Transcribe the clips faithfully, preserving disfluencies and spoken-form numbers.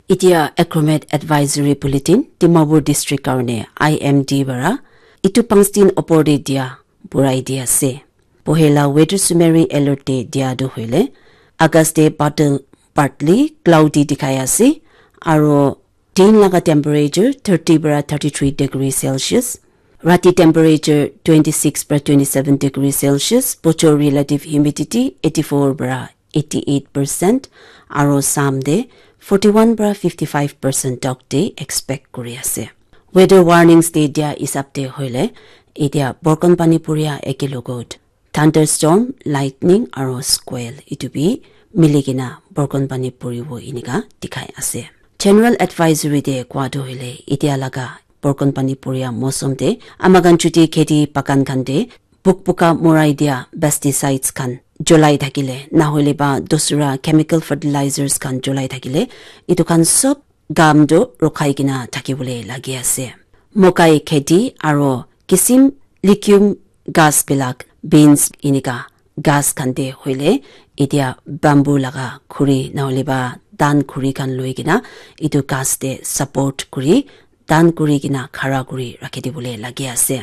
Itia Acromet Advisory Bulletin, Dimapur District karone I M D bara, itu pangstin opor te dia, burai dia ase. Pohela weather summary alert te dia tu hoile, August te badal partly cloudy dikhai ase, aro din laga temperature thirty bara thirty-three degree Celsius, rati temperature twenty-six bara twenty-seven degree Celsius, bochor relative humidity eighty-four bara eighty-eight percent, aro sam de forty-one bara fifty-five percent tok de expect kuri ase. Weather warnings de dia isap de hoile, itia borkon pani puria eke logot thunderstorm, lightning aro squall itu bi mili kena borkon pani puribo inika dikhai ase. General advisory de kwa tu hoile, itia laga borkon pani puria mosom de amakan chuti kheti bagan khan de bukbuka morai dia pesticides khan jolai thakile, nahole ba dusra chemical fertilizers khan jolai thakile, itu khan sob gam tu rokhai kena thakibole lagi ase. Mokai kheti aro kisim legume gas bilak, beans inika gas khan te hoile, itia bamboo laga khuri nahole ba dan khuri khan loi kena itu gas te support kuri, dan kuri kena khara kuri rakhi dibole lagi ase.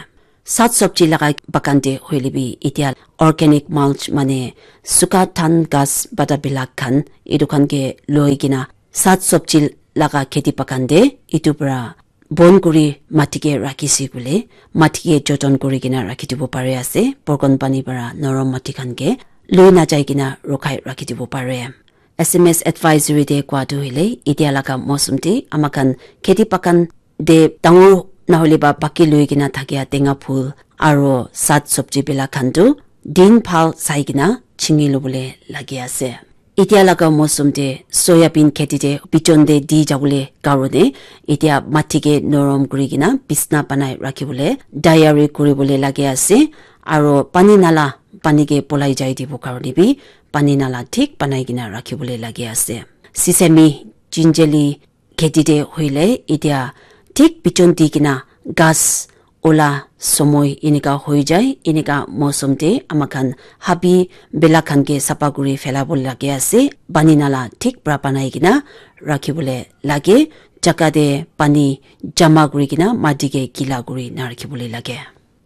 Sat sabji laga bagan te hoile bi itia organic mulch mane suka than gas bata bilak khan itu khan ke loi kena sat sabji laga kheti bagan te itu para bon kuri mati ke rakhi si kule, mati ke joton kuri kena rakhi dibo pare ase. Borkon pani para norom mati khan ke loi na jai kena rokhai rakhi dibo pare. S M S advisory de kwa tu hoile, itia laga mosom de amakan kheti bagan de dangor nahole ba baki loi kena thakia tenga phul aro sat sabji bila khan tu din phal sai kena chingi lobole lagi ase. Itia laga mosom de soyabean kheti de bichon de di jabole karone itia mati ke norom kuri kena bisna banai rakhi bole tayari kuri bole lagi ase. Aro pani nala pani ke polai jai dibo karone bi pani nala thik banai kena rakhi bole lagi ase. Sesame, jinjali kheti de hoile itia thik bichon di kena gas ola somoi inika hoi jai. Inika mosom de amakan habi bila khan ke sapa kuri phela bole lagi ase. Pani nala thik pra banai kena rakhi bole lage. Jaga de pani jama kuri kena mati ke gila kuri na rakhi bole lage.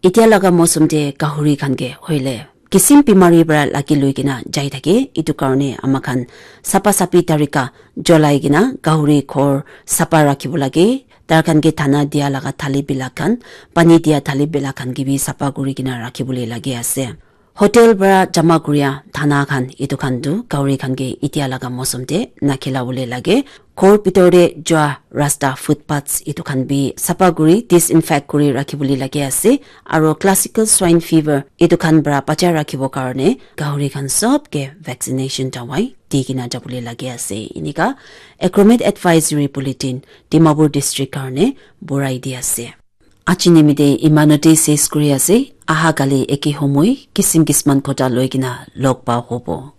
Itia laga mosom de gahuri khan ke hoile kisim bimari para lagi loi kena jai thake. Itu karone amakhan sapa sapi tarika jolai kena gahuri ghor sapa rakhibo lage. Tar khan ke dana dia laga thali bila khan, pani dia thali bila khan ke bi sapa kuri kena rakhibole lage ase. Hotel para jama kuria dana khan, itu khan tu gahuri khan ke itia laga mosom te nakhila bole lage. Ghor bitor te jua rasta, footpaths itu khan bi sapa kuri disinfect kuri rakhibole lage ase. Aro classical swine fever itu khan para bacha rakhibo karone gahuri khan sob ke vaccination dawai di kena jabole lage ase. Inika Acromet Advisory Bulletin Dimapur District karone burai di ase. Aji nimite imanote ses kuri ase. Aha kali eke homoi kisim kisman kota loi kena log pa hobo.